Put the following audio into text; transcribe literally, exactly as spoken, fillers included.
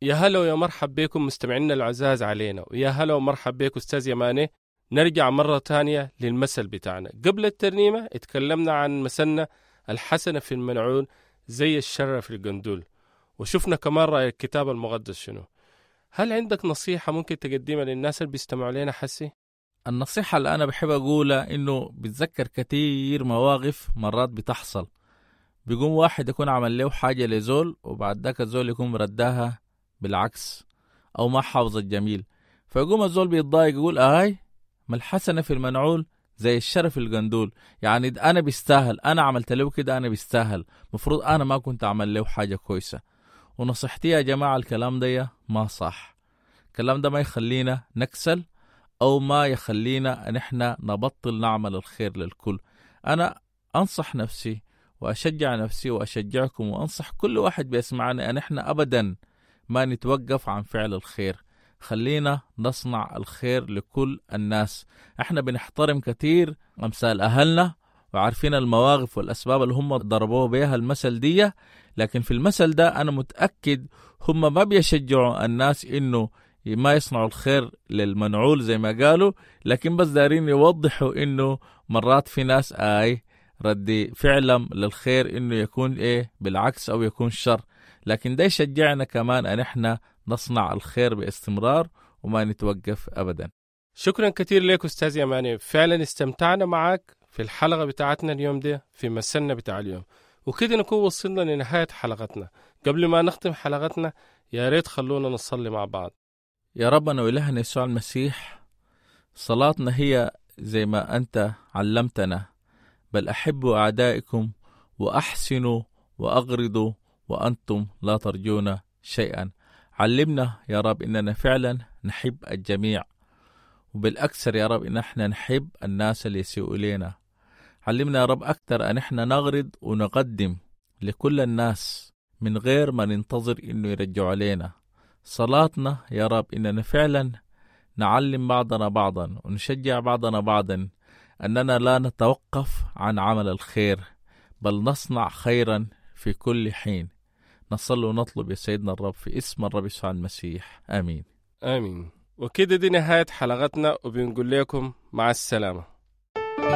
يا هلا ويا مرحب بكم مستمعينا العزاز علينا، ويا هلا ومرحب بك أستاذ يماني. نرجع مرة تانية للمثل بتاعنا. قبل الترنيمة اتكلمنا عن مثلنا الحسنة في المنعول زي الشر في القندول، وشفنا كمان رأي الكتاب المقدس شنو. هل عندك نصيحة ممكن تقدمها للناس اللي بيستمعوا لنا حسي؟ النصيحة اللي أنا بحب أقولها إنه بتذكر كتير مواقف مرات بتحصل، بيقوم واحد يكون عمل له حاجة لزول وبعد ذاك الزول يكون رداها بالعكس أو ما حافظ الجميل، فيقوم الزول بيتضايق يقول آي ما الحسنة في المنعول زي الشر في القندول، يعني أنا بيستاهل، أنا عملت له كده أنا بيستاهل، مفروض أنا ما كنت أعمل له حاجة كويسة. ونصيحتي يا جماعة الكلام ده ما صح، الكلام ده ما يخلينا نكسل أو ما يخلينا نحن نبطل نعمل الخير للكل. أنا أنصح نفسي وأشجع نفسي وأشجعكم وأنصح كل واحد بيسمعنا أن إحنا أبدا ما نتوقف عن فعل الخير، خلينا نصنع الخير لكل الناس. احنا بنحترم كثير أمثال أهلنا وعارفين المواقف والأسباب اللي هم ضربوه بها المثل دي، لكن في المثل ده أنا متأكد هم ما بيشجعوا الناس إنه ما يصنعوا الخير للمنعول زي ما قالوا، لكن بس دارين يوضحوا إنه مرات في ناس آي ردي فعلا للخير إنه يكون إيه بالعكس أو يكون شر، لكن ده يشجعنا كمان أن إحنا نصنع الخير باستمرار وما نتوقف أبدا. شكرا كثير لك أستاذ يماني، فعلا استمتعنا معك في الحلقة بتاعتنا اليوم دي في مثلنا بتاع اليوم، وكده نكون وصلنا لنهاية حلقتنا. قبل ما نختم حلقتنا يا ريت خلونا نصلي مع بعض. يا ربنا وإلهنا يسوع المسيح، صلاتنا هي زي ما أنت علمتنا، بل أحبوا أعدائكم وأحسنوا وأغرضوا وأنتم لا ترجون شيئا. علمنا يا رب إننا فعلا نحب الجميع، وبالأكثر يا رب إن احنا نحب الناس اللي يسيئوا إلينا. علمنا يا رب أكثر أن احنا نغرض ونقدم لكل الناس من غير ما ننتظر إنه يرجعوا علينا. صلاتنا يا رب إننا فعلا نعلم بعضنا بعضا ونشجع بعضنا بعضا أننا لا نتوقف عن عمل الخير، بل نصنع خيرا في كل حين. نصلي ونطلب يا سيدنا الرب في اسم الرب يسوع المسيح، آمين. آمين. وكده دي نهاية حلقتنا، وبنقول لكم مع السلامة.